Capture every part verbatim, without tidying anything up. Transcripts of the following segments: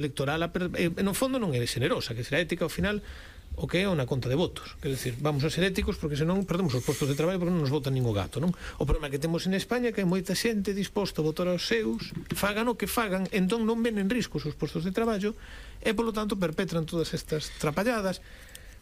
electoral, eh, no fondo non é xenerosa, que será ética ao final o que é unha conta de votos, quer decir, vamos a ser éticos porque senón perdemos os postos de traballo porque non nos votan ningún gato, non? O problema que temos en España é que hai moita xente disposta a votar aos seus, fagan o que fagan, entón non ven en risco os seus postos de traballo e polo tanto perpetran todas estas trapalladas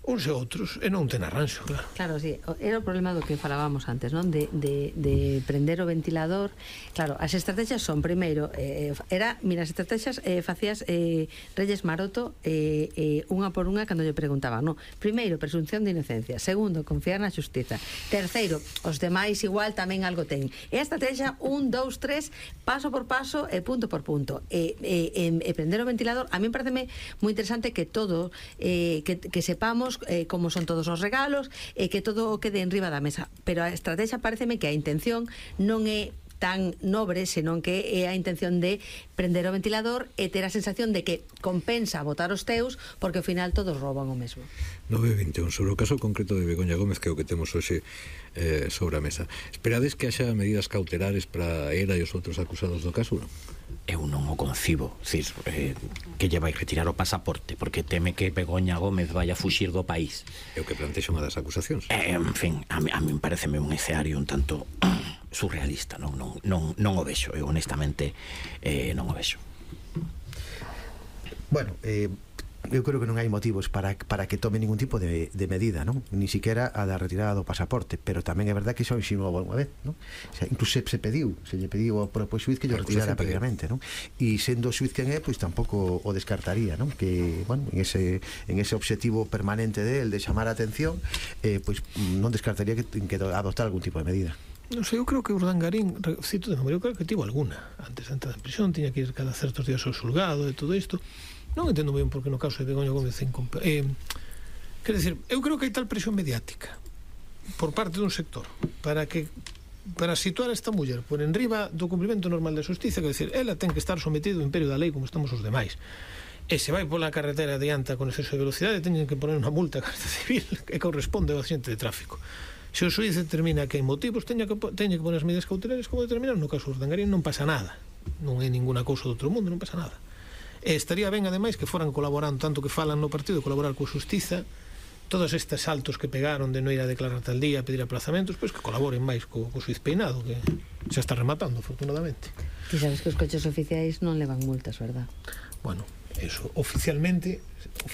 uns e outros, e non ten arranxo, claro. Claro, sí, era o problema do que falábamos antes, non? De, de, de prender o ventilador. Claro, as estrategias son, primeiro, eh, era, mira, as estrategias eh, facías eh, Reyes Maroto eh, eh, unha por unha cando lle preguntaban, non? Primeiro, presunción de inocencia. Segundo, confiar na xustiza. Terceiro, os demais igual tamén algo ten. E a estrategia, un, dous, tres, paso por paso e punto por punto. E, e, e, e prender o ventilador, a mí me parece moi interesante que todo, eh, que, que sepamos Eh, como son todos os regalos e eh, que todo quede en riba da mesa, pero a estrategia pareceme que a intención non é tan nobre, senón que é a intención de prender o ventilador e ter a sensación de que compensa votar os teus porque ao final todos rouban o mesmo. nove vinte e un, sobre o caso concreto de Begoña Gómez, que é o que temos hoxe eh, sobre a mesa, esperades que haxa medidas cautelares para ela e os outros acusados do caso, non? Eu non o concibo, cir, eh, que lle vai retirar o pasaporte porque teme que Begoña Gómez vai a fuxir do país. É o que plantexa unha das acusacións. Eh, en fin, a mí, a mí pareceme un escenario un tanto surrealista, non, non, non, non o vexo, eu honestamente eh, non o vexo. Bueno, eh, eu creo que non hai motivos para, para que tome ningún tipo de, de medida, non? Ni siquiera a da retirada do pasaporte, pero tamén é verdad que iso insinuou unha vez, non? O sea, incluso se, se pediu, se lle pediu ao propio xuiz que lle retirara previamente, non? E sendo o xuiz quen é, pois tampouco o descartaría, non? Que, bueno, en ese, en ese obxectivo permanente de él de chamar a atención, eh, pois non descartaría que, que adoptar algún tipo de medida. Non sei, eu creo que Urdangarín, cito de memoria, eu creo que tivo alguna antes de entrar en prisión, tiña que ir cada certos días ao xulgado e todo isto. Non entendo ben porque no caso de Begoña Gómez eh, quer decir, eu creo que hai tal presión mediática por parte dun sector para que para situar a esta muller por enriba do cumprimento normal da xustiza, que decir, ela ten que estar sometido ao imperio da lei como estamos os demais, e se vai pola carretera adianta con exceso de velocidade teñen que poner unha multa a Garda Civil que corresponde ao axente de tráfico. Se o xuiz determina que hai motivos teña que, teña que poner as medidas cautelares como determinar. No caso de Urdangarín non pasa nada, non é ninguna cousa do outro mundo, non pasa nada. E estaría ben, ademais, que foran colaborando tanto que falan no partido, colaborar coa xustiza, todos estes saltos que pegaron de non ir a declarar tal día, a pedir aplazamentos, pois que colaboren máis co, co xuiz Peinado, que xa está rematando, afortunadamente. Ti sabes que os coches oficiais non levan multas, verdad? Bueno, eso, oficialmente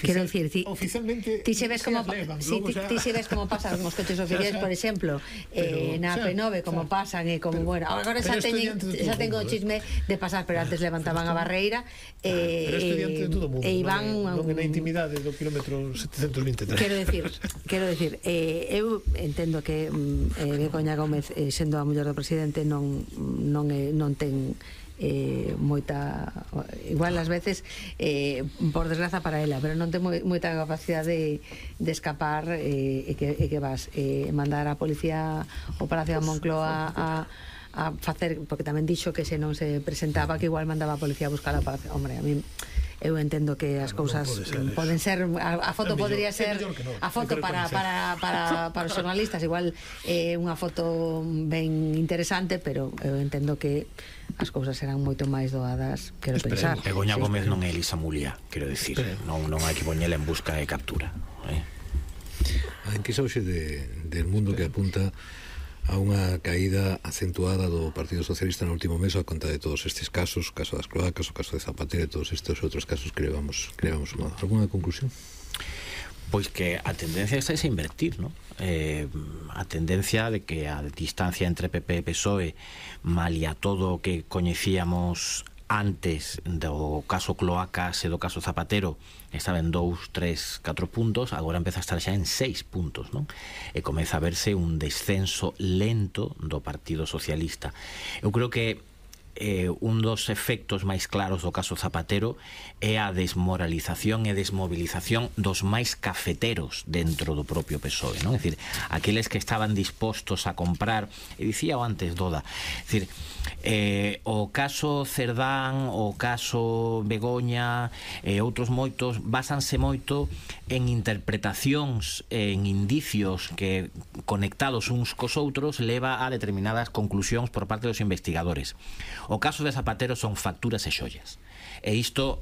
Quero dicir, ti, oficialmente ti se ves como levan, si, ti, xa... ti se ves como pasan os coches oficiais, por exemplo, eh, na P nove, como pasan e como, bueno, agora xa teñen xa tengo o chisme de pasar, pero antes levantaban a barreira e pero isto diante de todo o mundo, e iban non é na intimidade do quilómetro setecentos vinte e tres. Quero decir, quero decir, eh, eu entendo que eh, Begoña Gómez, eh, sendo a muller do presidente, non non é, non ten eh, moita, igual ás veces eh, por desgraza para ela, pero non ten moi, moita capacidade de, de escapar eh, e, que, e que vas eh, mandar a policía ao Palacio da Moncloa a, a facer, porque tamén dixo que se non se presentaba que igual mandaba a policía a buscar a Palacio. Hombre, a mí eu entendo que as claro, cousas non pode poden ser, a, a foto mellor, podría ser no. a foto para, para, para, para os xornalistas igual é eh, unha foto ben interesante, pero eu entendo que as cousas serán moito máis doadas, quero pensar. Begoña sí, Gómez non é Elisa Mulia, quero dicir, non, non hai que poñela en busca de captura, eh? A enquisa hoxe de, del mundo que apunta a unha caída acentuada do Partido Socialista no último mes a conta de todos estes casos, o caso das cloacas, o caso de Zapatero e todos estes outros casos que levamos, que levamos sumado. Alguna conclusión? Pois que a tendencia é a invertir, ¿no? Eh, a tendencia de que a distancia entre P P e P S O E, malia todo o que coñecíamos antes do caso Cloacas e do caso Zapatero, estaba en dous, tres, catro puntos, agora empeza a estar xa en seis puntos, non? E comeza a verse un descenso lento do Partido Socialista. Eu creo que eh, un dos efectos máis claros do caso Zapatero é a desmoralización e desmovilización dos máis cafeteros dentro do propio P S O E, non? É dicir, aqueles que estaban dispostos a comprar, e dicía antes Doda, é dicir, eh, o caso Cerdán, o caso Begoña e outros moitos basanse moito en interpretacións, en indicios que conectados uns cos outros leva a determinadas conclusións por parte dos investigadores. O caso de Zapatero son facturas e xollas. E isto,